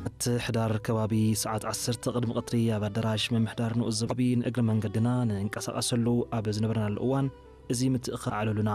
እቲ ሕዳር ከባቢ ሰዓት ዓሰርተ ቅድሚ ቀትሪ ኣብ ኣዳራሽ ምምሕዳር ንኡስ ዞባ ንእግሪ መንገድና ንንቀሳቐሰሉ ኣብ ዝነበርናሉ እዋን፣ እዚ ምትእኽኻብ ኣዕለሉና።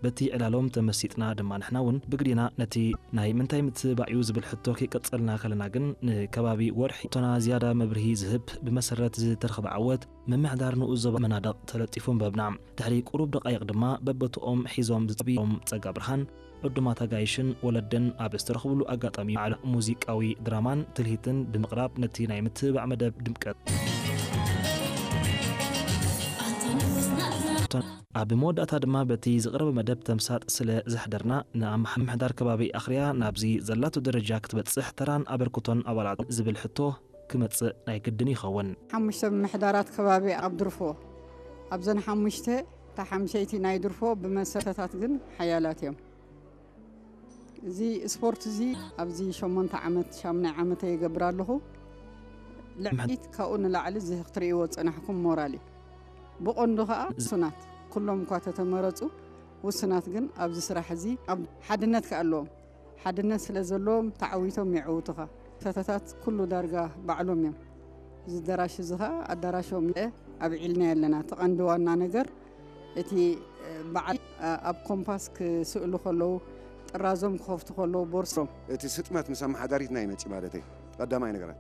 በቲ ዕላሎም ተመሲጥና ድማ ንሕና እውን ብግዴና ነቲ ናይ ምንታይ ምትብባዕ እዩ ዝብል ሕቶ ከይቀጸልና ከለና ግን፣ ንከባቢ ወርሒ ሕቶና ዝያዳ መብርሂ ዝህብ ብመሰረት ዝተረኽበ ዓወት ምምሕዳር ንኡስ ዞባ መናድቕ ተለጢፉ ኣንበብና። ድሕሪ ቁሩብ ደቓይቕ ድማ በቦትኦም ሒዞም ዝጸብዮም ጸጋ ብርሃን፣ ዕዱማት ኣጋይሽን ወለድን ኣብ ዝተረኽብሉ ኣጋጣሚ ባዕሉ ሙዚቃዊ ድራማን ትልሂትን ብምቕራብ ነቲ ናይ ምትብባዕ መደብ ድምቀት። ኣብ መወዳእታ ድማ በቲ ዝቐረበ መደብ ተምሳጥ ስለ ዘሕደርና፣ ንኣምሓ-፣ ምምሕዳር ከባቢ ኣኽርያ ናብዚ ዘላቶ ደረጃ ክትበጽሕ ተራን ኣበርክቶን ኣባላት ዝብል ሕቶ ክመጽእ ናይ ግድን ይኸውን። ሓሙሽተ ምምሕዳራት ከባቢ ኣብ ድርፎ፣ ኣብዘን ሓሙሽተ እታ ሓምሸይቲ ናይ ድርፎ ብመሰረታት ግን ሓያላት እዮም። እዚ ስፖርት እዚ ኣብዚ ሸሞንተ ዓመት፣ ሻሙናይ ዓመተ ይገብር ኣለኹ። ልዕሊት ካብኡ ንላዕሊ እዚ ክትርእይዎ ዝጸናሕኩም ሞራል እዩ። ብቐንዱ ከኣ ውሱናት፣ ኩሎም እኳ ተተመረጹ፣ ውሱናት ግን ኣብዚ ስራሕ እዚ ኣብ ሓድነት ከኣ ኣለዎም። ሓድነት ስለ ዘለዎም ተዓዊቶም የዕውቱኻ። ሰተታት ኩሉ ዳርጋ ባዕሎም እዮም። እዚ ኣዳራሽ እዚ ኸኣ ኣዳራሾም እየ ኣብዒልናዮ ኣለና። እቲ ቀንዲ ዋና ነገር እቲ፣ እ፣ በዓል፣ እ፣ ኣብ ኮምፓስ ክስእሉ ከለዉ፣ ጥራዞም ክኸፍቱ ከለዉ፣ ቦርሶም። እቲ ስጥመት ምስ ኣመሓዳሪትና ይመጽእ ማለተይ፣ ቀዳማይ ነገራት።